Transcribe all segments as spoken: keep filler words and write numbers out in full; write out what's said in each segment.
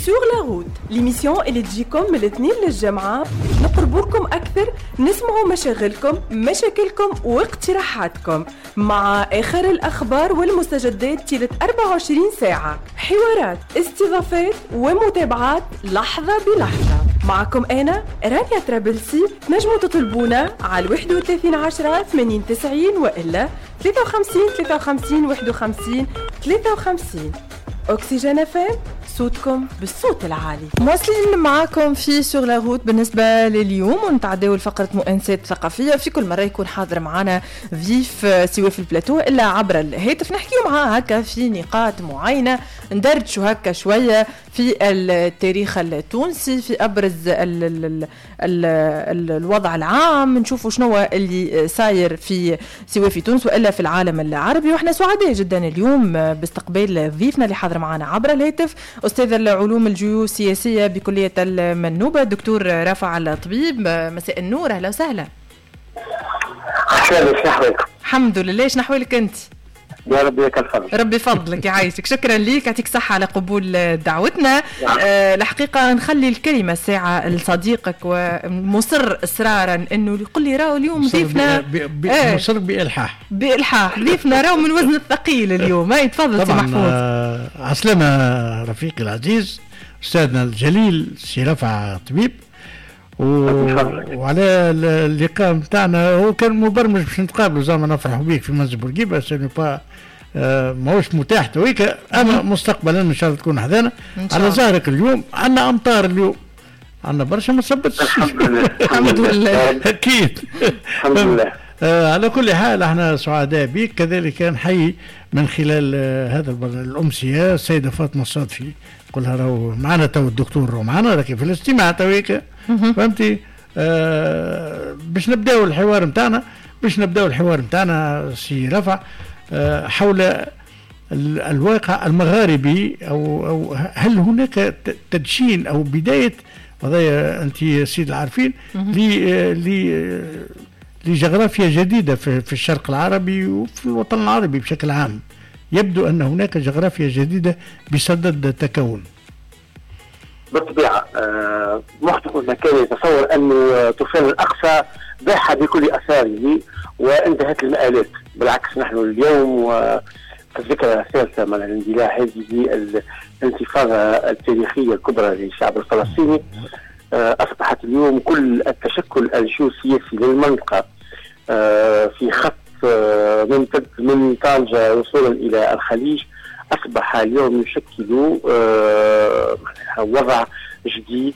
Sur la route، l'émission اللي تجيكم من الاثنين للجمعة، نقربوا لكم أكثر، نسمعوا مشاغلكم، مشاكلكم واقتراحاتكم مع آخر الأخبار والمستجدات طيلة أربعة وعشرين ساعة، حوارات، استضافات ومتابعات لحظة بلحظة. معكم أنا رانيا ترابلسي. تنجموا تطلبونا على واحد وثلاثين عشرة ثمانين تسعين وإلا ثلاثة وخمسين ثلاثة وخمسين واحد وخمسين ثلاثة وخمسين. أكسجين اف ام، صوتكم بالصوت العالي. مواصلين معاكم في Sur la route بالنسبة لليوم، ونتعداو لفقرة مؤنسات ثقافية. في كل مرة يكون حاضر معنا ضيف سواء في البلاتو إلا عبر الهاتف، نحكيو معاه هكا في نقاط معينة، ندردشوا هكا شوية في التاريخ التونسي، في أبرز ال ال ال ال ال الوضع العام، نشوفوا شنو اللي صاير في سواء في تونس وإلا في العالم العربي. وإحنا سعداء جدا اليوم باستقبال ضيفنا اللي حاضر معنا عبر الهاتف، أستاذ العلوم الجيوسياسية بكلية المنوبة الدكتور رافع الطبيب. مساء النور، أهلا وسهلا. الحمد لله، شنو أحوالك أنت؟ يا ربي لك الفضل. ربي فضلك يعيشك، شكرا ليك، يعطيك صحة على قبول دعوتنا. آه الحقيقة نخلي الكلمة ساعة لصديقك ومصر إصرارا أنه يقول لي راهو اليوم ضيفنا آه مصر بإلحاح بإلحاح ضيفنا راهو من وزن الثقيل اليوم. هاي تفضل سي محفوظ. آه عسلامة رفيقي العزيز أستاذنا الجليل سي رفع طبيب، و... وعلى اللقاء نتاعنا هو كان مبرمج باش نتقابلوا زعما نفرحوا بيك في منزل بورقيبة، ce n'est pas ماهوش متاح تويك، اما مستقبلا ان شاء الله تكون حذانا. على ظهرك اليوم عندنا امطار، اليوم عندنا برشا ما صبتش الحمد لله الحمد لله اكيد الحمد لله. آه على كل حال احنا سعداء بك، كذلك نحيي من خلال هذا الامسيه السيدة فاطمة الصادفي، قولها راهو معنا تو الدكتور راهو معنا راكي في الاستماع تويك، فهمتي؟ آه باش نبداو الحوار نتاعنا، باش نبداو الحوار نتاعنا سي رفع آه حول الواقع المغاربي، او او هل هناك تدشين او بداية قضايا انت سيد العارفين ل لجغرافيا جديدة في, في الشرق العربي وفي الوطن العربي بشكل عام؟ يبدو أن هناك جغرافيا جديدة بصدد التكون. بالطبيعة آه مخطئ ما كان يتصور أن طوفان الأقصى باح بكل أثاره وانتهت المآلات. بالعكس نحن اليوم في الذكرى الثالثة من الاندلاع هذه الانتفاضة التاريخية الكبرى للشعب الفلسطيني، آه أصبحت اليوم كل التشكل الجيوسياسي للمنطقة آه في خط ممتد من طنجة وصولا إلى الخليج، أصبح اليوم يشكل وضع جديد.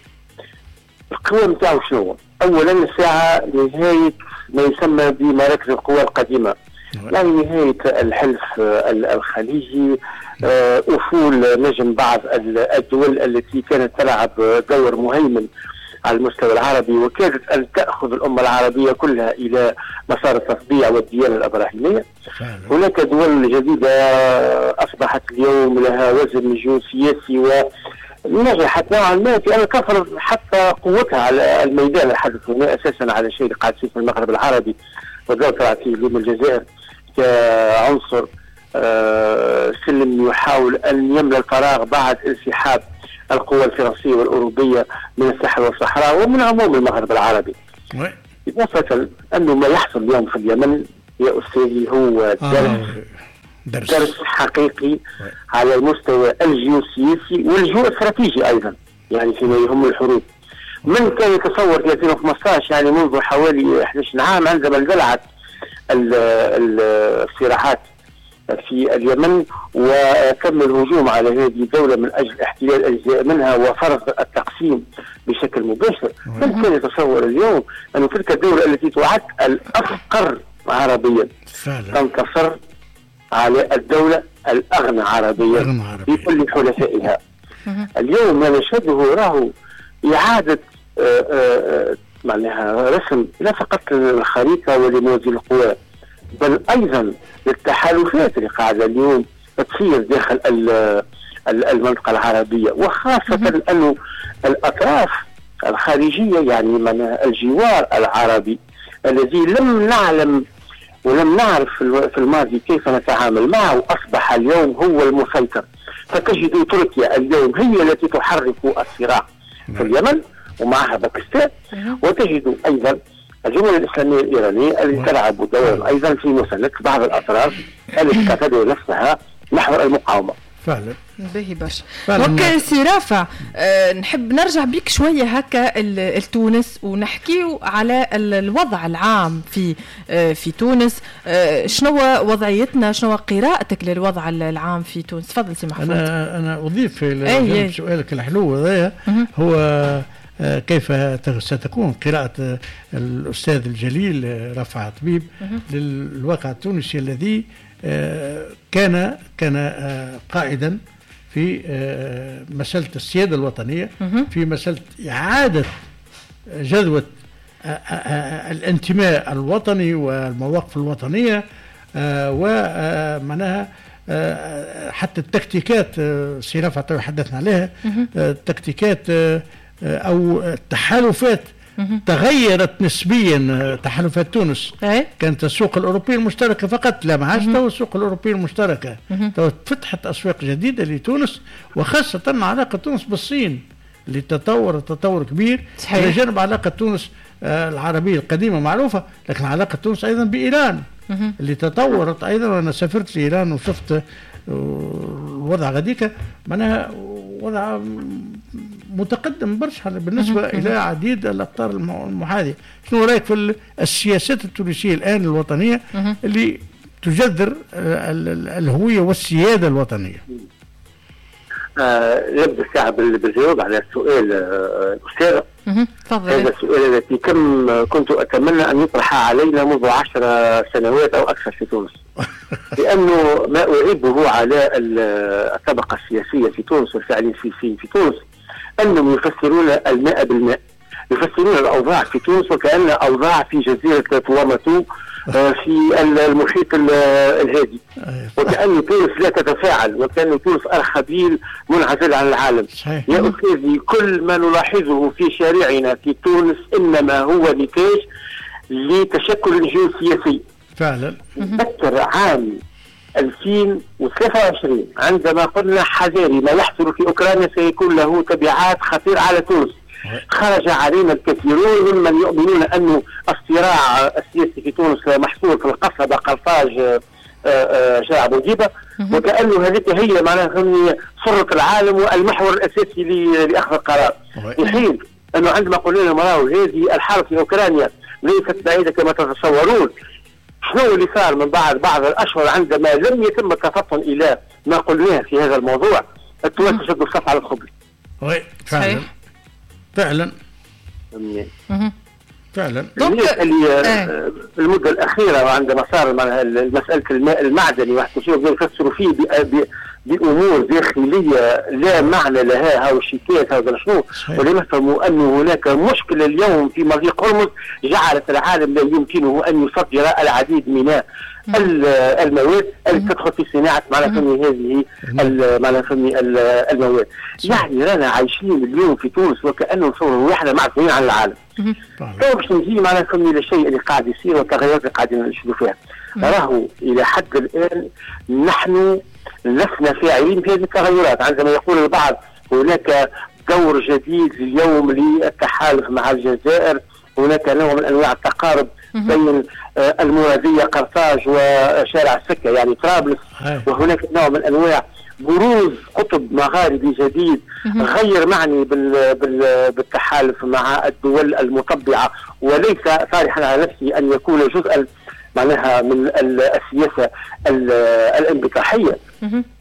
القوى متاعه شنو؟ أولا الساعة نهاية ما يسمى بمراكز القوى القديمة، يعني نهاية الحلف الخليجي، أفول نجم بعض الدول التي كانت تلعب دور مهيمن على المستوى العربي وكادت أن تأخذ الأمة العربية كلها إلى مسار التطبيع والديانة الإبراهيمية. هناك دول جديدة أصبحت اليوم لها وزن جيوسياسي ونجحت نوعا ما في أن تفرض حتى قوتها على الميدان الحدث هنا أساسا على شيء اللي قاعد يصير في المغرب العربي، وذكرت فيه اليوم الجزائر كعنصر سلم يحاول أن يملأ الفراغ بعد انسحاب القوى الفرنسية والأوروبية من الساحل والصحراء ومن عموم المغرب العربي. إضافة أنه ما يحصل اليوم في اليمن يا أستاذي هو درس, آه. درس. درس حقيقي على المستوى الجيوسياسي والجيوستراتيجي أيضا، يعني فيما يهم الحروب. من كان يتصور في ألفين وخمسة عشر، يعني منذ حوالي أحد عشر عام، عندما اندلعت الصراعات في اليمن وتم الهجوم على هذه الدولة من أجل احتلال أجزاء منها وفرض التقسيم بشكل مباشر، من كان يتصور اليوم أن تلك الدولة التي تعد الأفقر عربيا تنتصر على الدولة الأغنى عربيا بكل حلفائها؟ اليوم ما نشهده راهو إعادة معناها رسم لا فقط للخريطة ولموازين القوى، بل أيضا للتحالفات اللي قاعدة اليوم تصير داخل المنطقة العربية، وخاصة أنه الأطراف الخارجية يعني من الجوار العربي الذي لم نعلم ولم نعرف في الماضي كيف نتعامل معه، أصبح اليوم هو المسيطر. فتجد تركيا اليوم هي التي تحرك الصراع في اليمن ومعها باكستان، وتجد أيضا الجمهورية الإسلامية الإيرانية التي تلعب دورا أيضا في مساندة بعض الأطراف التي تعتبر نفسها محور المقاومة. فعلا باهي برشا. donc سي رافع، أه نحب نرجع بيك شوية هكا لتونس ونحكيو على الوضع العام في أه في تونس. أه شنو وضعيتنا، شنو قراءتك للوضع العام في تونس؟ تفضل سي محفوظ. انا انا اضيف الى سؤالك الحلو هذايا، هو كيف ستكون قراءة الأستاذ الجليل رافع طبيب للواقع التونسي الذي كان كان قائدا في مسألة السيادة الوطنية، في مسألة إعادة جذوة الانتماء الوطني والمواقف الوطنية، ومعناها حتى التكتيكات سي رافع حدثنا عليها، التكتيكات أو التحالفات تغيرت نسبيا. تحالفات تونس كانت السوق الأوروبية المشتركة فقط، لا ما عادش تو السوق الأوروبية المشتركة، تو فتحت أسواق جديدة لتونس، وخاصة علاقة تونس بالصين اللي تطور تطور كبير. إلى جانب علاقة تونس العربية القديمة معروفة، لكن علاقة تونس أيضا بإيران اللي تطورت أيضا. أنا سافرت لإيران وشفت الوضع غديك، معناها وضع متقدم برشا بالنسبة إلى عديد الأقطار المحاذية. شنو رأيك في السياسات التونسية الآن الوطنية اللي تجذر الهوية والسيادة الوطنية؟ آه نبدأ الساعة بالجواب على السؤال الأستاذ. هذا السؤال الذي كم كنت أتمنى أن يطرح علينا منذ عشر سنوات أو أكثر في تونس، لأنه ما أعيبه على الطبقة السياسية في تونس والفاعلين السياسيين في تونس أنهم يفسرون الماء بالماء، يفسرون الأوضاع في تونس وكأن أوضاع في جزيرة تواماتو في المحيط الهادي، وكأن تونس لا تتفاعل، وكأن تونس أرخبيل منعزل عن العالم. يا أستاذي، كل ما نلاحظه في شارعنا في تونس إنما هو نتاج لتشكل الجيوسياسي. فعلا. أذكر عام ألفين وثلاثة وعشرين عندما قلنا حذاري ما يحصل في أوكرانيا سيكون له تبعات خطيرة على تونس، خرج علينا الكثيرون ممن يؤمنون أن الصراع السياسي في تونس محصور في القصبة قرطاج شارع بورقيبة، وكأنه هذه هي معناها سرة العالم والمحور الأساسي لأخذ القرار. في حين أنه عندما قلنا لهم راهو هذه الحرب في أوكرانيا ليست بعيدة كما تتصورون، شنو اللي صار من بعد بعض الأشهر عندما لم يتم التفطن إلى ما قلناه في هذا الموضوع، التوانسة شدوا الصف على الخبز. oui فعلا فعلا فعلا. اللي في المدة الأخيرة عندما صار مسألة الماء المعدني واحد يفسروا فيه بأمور داخلية لا معنى لها، هاو الشيكات هذا شنو، ولم يفهموا أن هناك مشكلة اليوم في مضيق هرمز جعلت العالم لا يمكنه أن يصدر العديد من المواد التي تدخل في صناعة معناها هذه معناها المواد. يعني رانا عايشين اليوم في تونس وكأنه نصوروا روحنا معزولين عن العالم. تو باش نجي معناها للشيء اللي قاعد يصير والتغيرات اللي قاعدين نشوفوا فيها. راهو إلى حد الآن نحن لسنا فاعلين في هذه التغيرات. عندما يقول البعض هناك دور جديد اليوم للتحالف مع الجزائر، هناك نوع من أنواع التقارب بين المرادية قرطاج وشارع السكة يعني طرابلس، وهناك نوع من أنواع بروز قطب مغاربي جديد غير معني بال بال بالتحالف مع الدول المطبعة، وليس صالحا على نفسه أن يكون جزءا معناها من السياسة الانبطاحية.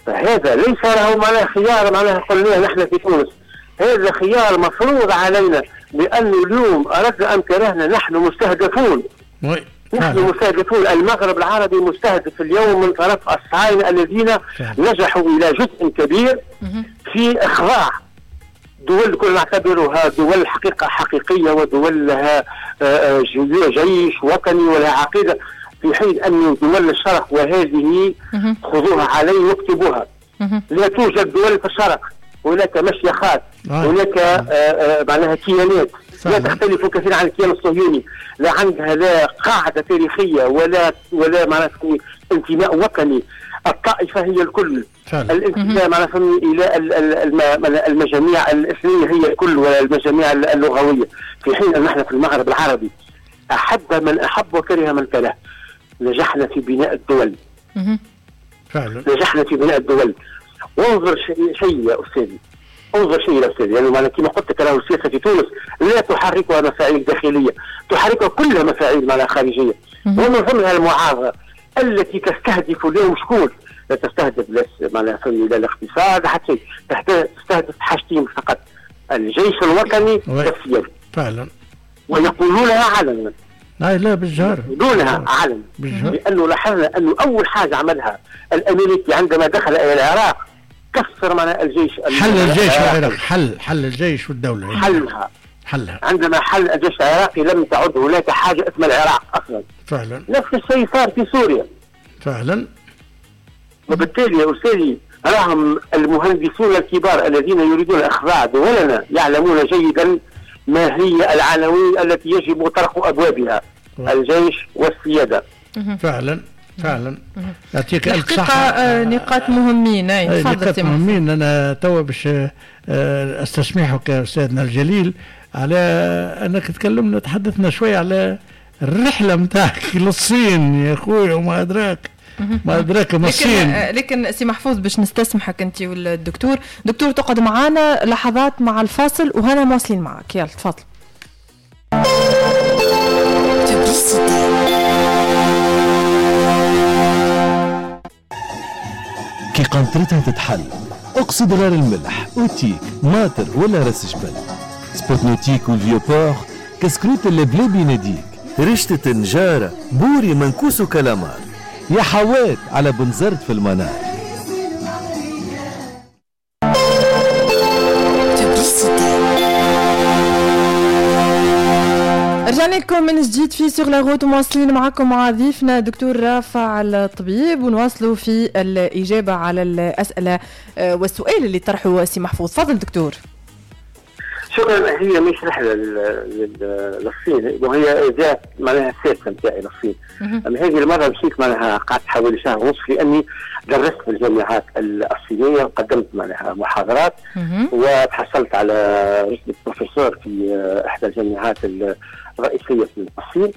فهذا ليس له معناها خيار، معناها قلنا نحن في تونس هذا خيار مفروض علينا، لأنه اليوم أردنا أم كرهنا نحن مستهدفون. نحن مستهدفون، المغرب العربي مستهدف اليوم من طرف الصهاينة الذين نجحوا إلى جزء كبير في إخضاع دول كنا نعتبرها دول حقيقة حقيقية ودول لها جيش وطني ولها عقيدة، في حين أن دول الشرق وهذه خذوها علي واكتبوها لا توجد دول في الشرق، هناك مشيخات، هناك معناها كيانات لا تختلف كثيرا عن الكيان الصهيوني، لا عندها لا قاعدة تاريخية ولا ولا معناها انتماء وطني. الطائفة هي الكل، الانتماء معناها الى المجاميع الاثنيه هي الكل ولا المجاميع اللغوية، في حين ان نحن في المغرب العربي احب من احب وكره من كره. نجحنا في بناء الدول. فعلا نجحنا في بناء الدول. وانظر شيء شيء يا استاذي، انظر شيء يا استاذي، يعني معناها كما قلت لك راهو السياسة في تونس لا تحركها مفاعيل داخلية، تحركها كلها مفاعيل معناها خارجية، ومن ضمنها المعارضة التي تستهدف اليوم شكون؟ لا تستهدف لا معناها لا الاقتصاد حتى شيء، تستهدف حاجتين فقط، الجيش الوطني والسيادة. فعلا ويقولونها علنا. لا لا بالجهر، يقولونها علنا، لانه لاحظنا انه اول حاجة عملها الامريكي عندما دخل الى العراق كسر معناها الجيش، حل الجيش العراقي، حل حل الجيش والدولة، حلها حلها. عندما حل الجيش العراقي لم تعد هناك حاجة اسمها العراق اصلا. فعلا نفس الشيء صار في سوريا. فعلا. وبالتالي يا استاذي راهم المهندسون الكبار الذين يريدون اخضاع دولنا يعلمون جيدا ما هي العناوين التي يجب طرق ابوابها، الجيش والسيادة. فعلا فعلا يعطيك الف صحة. آه نقاط مهمين. اي نقاط مهمين. انا توا باش استسمحك استاذنا الجليل على انك تكلمنا، تحدثنا شوية على الرحلة نتاعك للصين يا خويا وما ادراك ما ادراك ما الصين. لكن سي محفوظ باش نستسمحك انت والدكتور، دكتور تقعد معانا لحظات مع الفاصل وهنا مواصلين معك، يلا تفضل. كي قنطرتها تتحل اقصد غار الملح، اوتيك، ماطر ولا راس جبل، spot nautique وال Vieux-Port، كسكروت اللبلابي يناديك، رشتة نجارة، بوري منكوس وكلامار، يا حوات على بنزرت في المنار. رجعنا لكم من جديد في sur la route، مواصلين معكم مع ضيفنا دكتور رافع الطبيب، ونواصلوا في الإجابة على الأسئلة والسؤال اللي طرحه سي محفوظ. تفضل دكتور. شكرا. هي مش رحلة للصين، وهي ذات معناها السادسة نتاعي للصين. أما هذه المرة مشيت معناها قعدت حوالي شهر ونصف لأني درست في الجامعات الصينية وقدمت معناها محاضرات وتحصلت على رتبة بروفيسور في إحدى الجامعات الرئيسية في الصين.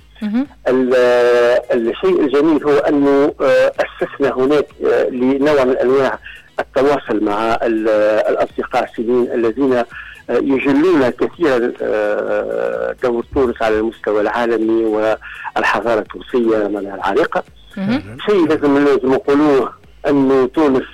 الشيء الجميل هو أنه أسسنا هناك لنوع من أنواع التواصل مع الأصدقاء الصينيين الذين يجلون كثيرا دور تونس على المستوى العالمي والحضارة التونسية العريقة. شيء لازم لازم نقولوه أن تونس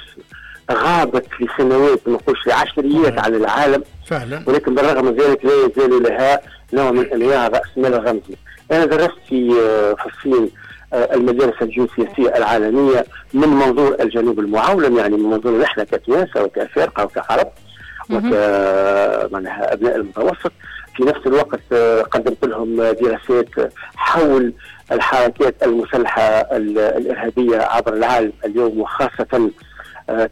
غابت لسنوات، ما نقولش لعشريات، على العالم فعلا، ولكن بالرغم من ذلك لا يزال لها نوع من أنواع رأس مال الرمزي. أنا درست في في الصين المدارس الجيوسياسية العالمية من منظور الجنوب المعولم، يعني من منظور نحن كتوانسة وكأفارقة وكعرب وك معناها أبناء المتوسط. في نفس الوقت قدمت لهم دراسات حول الحركات المسلحة الإرهابية عبر العالم اليوم، وخاصة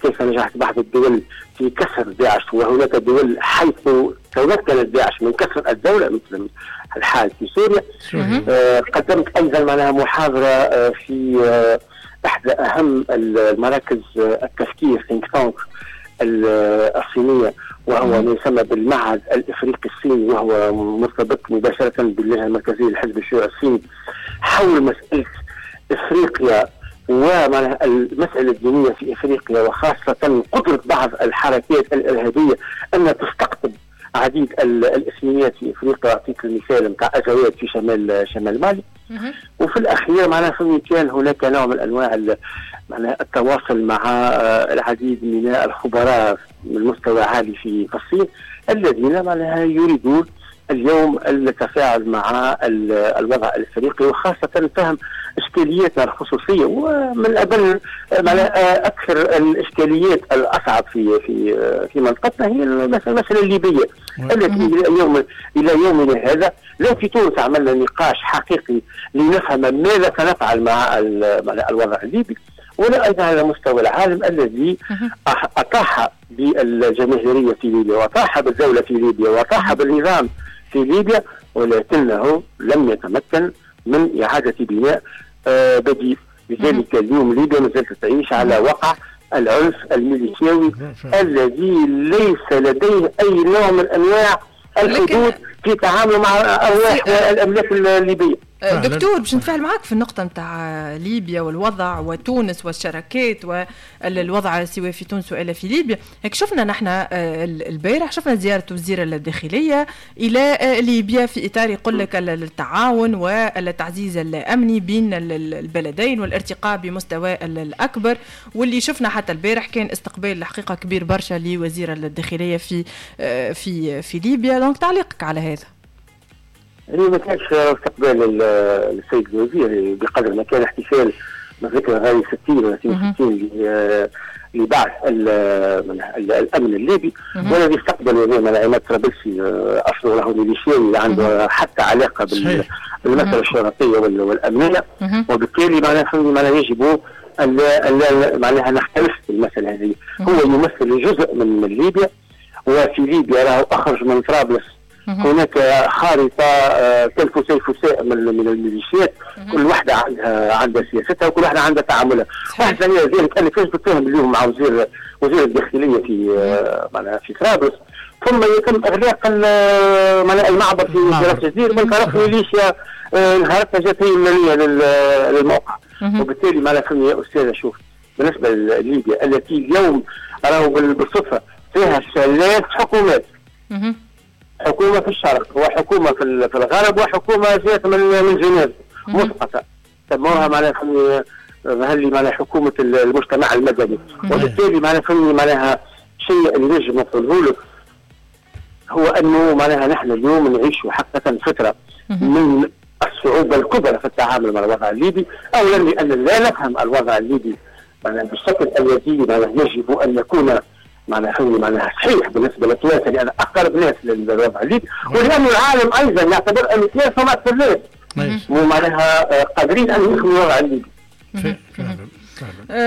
كيف نجحت بعض الدول في كسر داعش، وهناك دول حيث تمكنت داعش من كسر الدولة مثل الحال في سوريا. قدمت أيضا معناها محاضرة في إحدى أهم المراكز التفكير think tank الصينية، وهو ما يسمى بالمعهد الإفريقي الصيني، وهو مرتبط مباشرة باللجنة المركزية للحزب الشيوعي الصيني، حول مسألة إفريقيا والمسألة الدينية في إفريقيا، وخاصة قدرة بعض الحركات الإرهابية أن تستقطب عديد الإثنيات في إفريقيا. أعطيك المثال نتاع أزواد في شمال شمال مالي. وفي الأخير معناها كان هناك نوع من أنواع معناها التواصل مع العديد من الخبراء من مستوى عالي في الصين الذين معناها يريدون اليوم التفاعل مع الوضع الافريقي، وخاصة فهم اشكالياتنا الخصوصية، ومن قبل معناها اكثر الاشكاليات الاصعب في في في منطقتنا هي المسالة الليبية التي الى يوم الى يومنا هذا لا في تونس عملنا نقاش حقيقي لنفهم ماذا سنفعل مع الوضع الليبي، ولا ايضا على مستوى العالم الذي اطاح بالجماهيريه في ليبيا، واطاح بالدولة في ليبيا، واطاح بالنظام في ليبيا، ولكنه لم يتمكن من إعادة بناء بديل. لذلك اليوم ليبيا ما زالت تعيش على وقع العنف الميليشياوي الذي ليس لديه أي نوع من أنواع الحدود في تعامله مع أرواح والأملاك الليبية. دكتور باش نتفاعل معك في النقطة نتاع ليبيا والوضع وتونس والشراكات والوضع سواء في تونس وإلا في ليبيا. هيك شفنا نحن البارح شفنا زيارة وزير الداخلية إلى ليبيا في إطار يقول لك التعاون والتعزيز الأمني بين البلدين والارتقاء بمستوى الأكبر، واللي شفنا حتى البارح كان استقبال الحقيقة كبير برشا لوزير الداخلية في في في ليبيا. donc تعليقك على هذا؟ يعني ما كانش استقبال السيد الوزير بقدر ما كان احتفال بذكرى غاية ستين ولا ستين لبعث الامن الليبي، والذي استقبل وزير عماد طرابلسي اصله له ميليشياوي عنده حتى علاقة بالمسالة الشرطية والامنية، وبالتالي معناها معناها يجب ان لا معناها نختلف في المسالة هذه. هو يمثل جزء من ليبيا، وفي ليبيا راهو اخرج من طرابلس هناك خارطة تلفساء من من الميليشيات، كل واحدة عندها عندها سياستها وكل واحدة عندها تعاملها. واحد ثانية ذلك أنا كيفاش بتفهم اليوم مع وزير وزير الداخلية في معناها في طرابلس، ثم يتم إغلاق المعبر في راس جدير من طرف ميليشيا نهارتها جات هي المالية للموقع. وبالتالي معناها يا أستاذة شوف بالنسبة لليبيا التي اليوم راهو بالصدفة فيها ثلاث حكومات، حكومة في الشرق وحكومة في الغرب وحكومة جات من من جنيف مسقطة سموها معناها هل معناها حكومة المجتمع المدني. وبالتالي معناها فهمني معناها شيء اللي نجم نقوله لك هو أنه معناها نحن اليوم نعيش حقيقة فترة من الصعوبة الكبرى في التعامل مع الوضع الليبي. أولا لأن لا نفهم الوضع الليبي معناها بالشكل الذي معناها يجب أن يكون معناها فهمني معناها صحيح بالنسبة للتوانسه، لان اقرب ناس للوضع الليبي، ولان العالم ايضا يعتبر ان التوانسة هم اكثر ناس ومعناها قادرين ان يفهموا الوضع الليبي.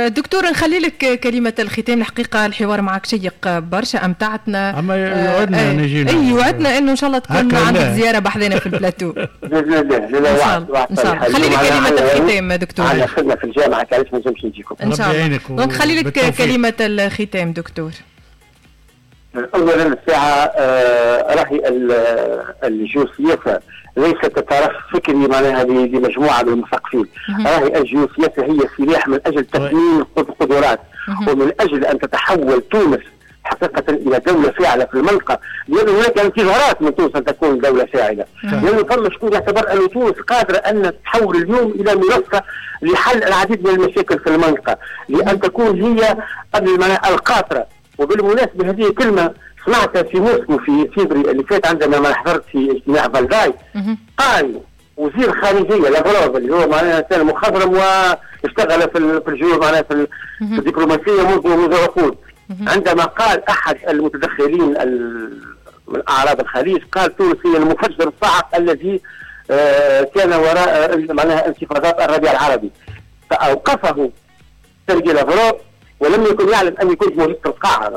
دكتور نخلي لك كلمة الختام. الحقيقة الحوار معك شيق برشا، أمتعتنا. أما يوعدنا نجينا. أي يوعدنا إنه إن شاء الله تكون عندك زيارة بحذنا في البلاتو. بإذن الله. لا وعد وعد. إن شاء الله. خلي لك كلمة الختام دكتور. عندنا خدمة في الجامعة علاش ما نجمش نجيكم. إن شاء الله. donc خلي لك كلمة الختام دكتور. أولا الساعة راهي الجيوسياسة ليست طرف فكري معناها لمجموعة من المثقفين، راهي الجيوسياسة هي سلاح من أجل تثمين القدرات ومن أجل أن تتحول تونس حقيقة إلى دولة فاعلة في المنطقة، لأن هناك انتظارات من تونس أن تكون دولة فاعلة، لأنه فما شكون يعتبر أن تونس قادرة أن تتحول اليوم إلى منصة لحل العديد من المشاكل في المنطقة، لأن تكون هي قبل القاطرة. وبالمناسبة هذه كلمة سمعتها في موسكو في فبراير اللي فات عندما ما حضرت في اجتماع فالداي، قال وزير خارجية لافروف اللي هو معناها كان مخضرم واشتغل في في الجيوب معناها في الدبلوماسية منذ منذ عقود، عندما قال أحد المتدخلين من أعراب الخليج قال تونس هي المفجر الصاعق الذي كان وراء معناها انتفاضات الربيع العربي، فأوقفه سيرجي لافروف ولم يكن يعلم أني كنت موجود في القاعة،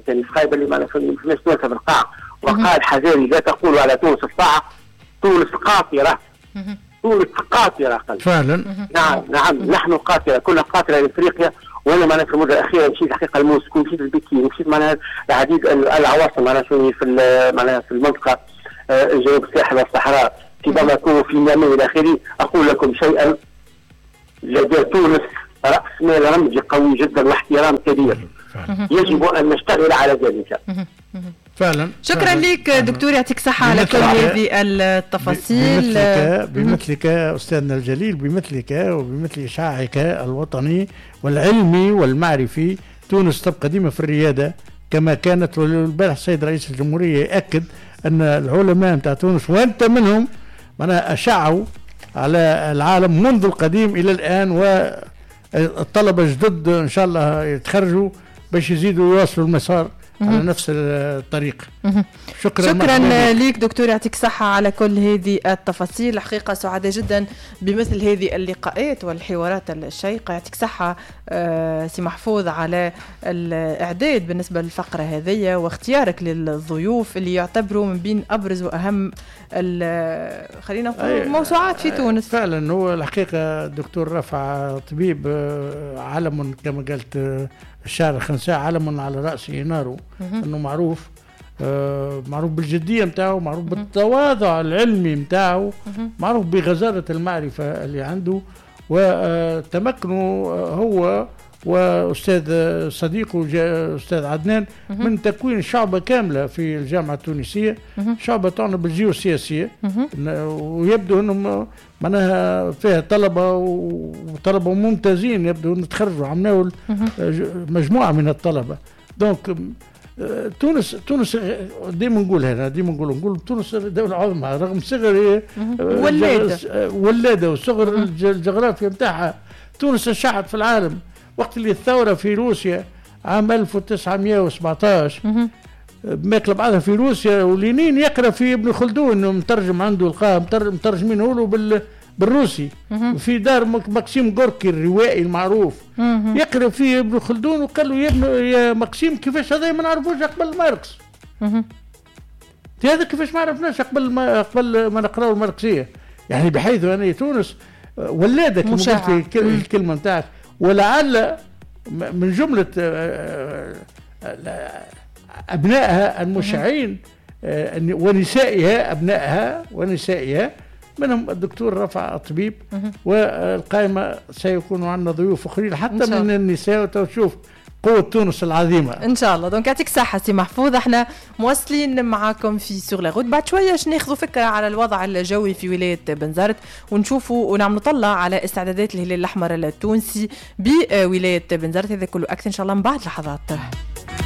كان خايب اللي ما فماش تونس في القاعة، وقال حذاري لا تقولوا على تونس الصاعق، تونس قاطرة، تونس قاطرة. فعلا نعم نعم نحن قاطرة، كنا قاطرة لإفريقيا. وأنا معناها في المدة الأخيرة مشيت الحقيقة لموسكو، مشيت لبكين، مشيت معناها العديد العواصم معناها في معناها في المنطقة جنوب الساحل والصحراء، في باماكو وفي نيامي إلى آخره. أقول لكم شيئا، لدى تونس رأس مال رمزي قوي جدا واحترام كبير، يجب أن نشتغل على ذلك. فعلا. شكرا فعلا. لك دكتور، يعطيك صحة على كل هذه التفاصيل. بمثلك, بمثلك أستاذنا الجليل، بمثلك وبمثل إشعاعك الوطني والعلمي والمعرفي، تونس تبقى ديما في الريادة كما كانت. والبارح السيد رئيس الجمهورية يأكد أن العلماء نتاع تونس وأنت منهم معناها أشعوا على العالم منذ القديم إلى الآن، والطلبة الجدد إن شاء الله يتخرجوا باش يزيدوا يواصلوا المسار على نفس الطريق. شكرا شكرا لك دكتور، يعطيك صحة على كل هذه التفاصيل. الحقيقة سعداء جدا بمثل هذه اللقاءات والحوارات الشيقة. يعطيك صحة سي محفوظ على الإعداد بالنسبة للفقرة هذه واختيارك للضيوف اللي يعتبروا من بين أبرز وأهم خلينا نقول موسوعات في تونس. فعلا هو الحقيقة الدكتور رفع طبيب علم كما قالت الشاعر الخنساء، علم على رأسه ناره، أنه معروف آه معروف بالجدية متاعه، معروف بالتواضع العلمي متاعه، معروف بغزارة المعرفة اللي عنده وتمكنه هو وأستاذ صديقه أستاذ عدنان من تكوين شعبة كاملة في الجامعة التونسية، شعبة تعنى بالجيوسياسية، ويبدو أنهم معناها فيها طلبة وطلبة ممتازين، يبدو أن تخرجوا عملوا مجموعة من الطلبة. donc تونس تونس ديما نقول هنا، ديما نقول نقول تونس دولة عظمى رغم صغر ولادة ولادة وصغر الجغرافيا نتاعها. تونس شعت في العالم وقت اللي الثورة في روسيا عام ألف وتسعمائة وسبعة عشر ماكلة بعضها في روسيا، ولينين يقرأ في ابن خلدون مترجم عنده القاه مترجمينه له بال بالروسي في دار ماكسيم غوركي الروائي المعروف، يقرأ فيه ابن خلدون وقال له يا ابن يا ماكسيم كيفاش هذا ما نعرفوش قبل ماركس، هذا كيفاش ما عرفناش قبل ما قبل ما نقراو الماركسية. يعني بحيث أن تونس ولادة كما قلت الكلمة نتاعك، ولعل من جملة أبنائها المشعين ونسائها، أبنائها ونسائها منهم الدكتور رفع الطبيب، والقائمة سيكون عندنا ضيوف أخرين حتى من النساء، وتشوف قوة تونس العظيمة إن شاء الله. donc يعطيك صحة سي محفوظ، احنا مواصلين معاكم في sur la route. بعد شوية باش ناخذوا فكرة على الوضع الجوي في ولاية بنزرت ونشوفوا ونعملوا طلة على استعدادات الهلال الأحمر التونسي بولاية بنزرت. هذا كله أكثر إن شاء الله من بعد لحظات.